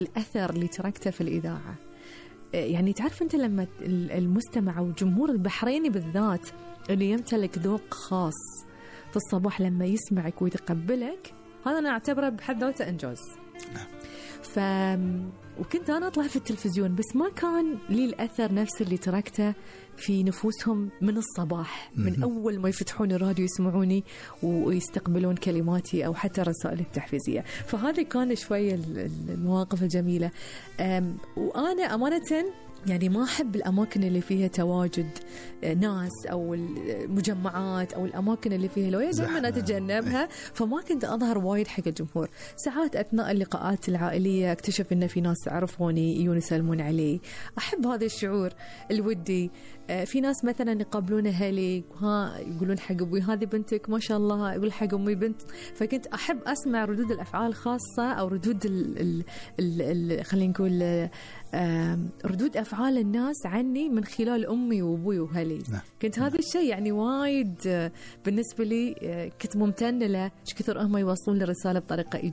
الأثر اللي تركته في الإذاعة. يعني تعرف أنت لما المستمع أو الجمهور البحريني بالذات اللي يمتلك ذوق خاص في الصباح لما يسمعك ويتقبلك، هذا أنا أعتبره بحد ذاته إنجاز. وكنت أنا أطلع في التلفزيون بس ما كان لي الأثر نفس اللي تركته في نفوسهم من الصباح، من أول ما يفتحون الراديو يسمعوني ويستقبلون كلماتي أو حتى الرسائل التحفيزية. فهذه كان شوية المواقف الجميلة. وأنا أمانة يعني ما أحب الأماكن اللي فيها تواجد ناس أو المجمعات أو الأماكن اللي فيها لوية، دائما أتجنبها. فما كنت أظهر وايد حق الجمهور. ساعات أثناء اللقاءات العائلية اكتشف إن في ناس عرفوني يجون يسلمون علي، أحب هذا الشعور الودي. في ناس مثلا يقابلون أهلي ها يقولون حق أبوي هذه بنتك ما شاء الله، يقول حق أمي بنت. فكنت أحب أسمع ردود الأفعال خاصة أو ردود خلينا نقول ردود أفعال الناس عني من خلال أمي وأبوي وهلي. كنت هذا الشيء يعني وايد بالنسبة لي كنت ممتنة له، كثر هم يوصلون لي الرسالة بطريقة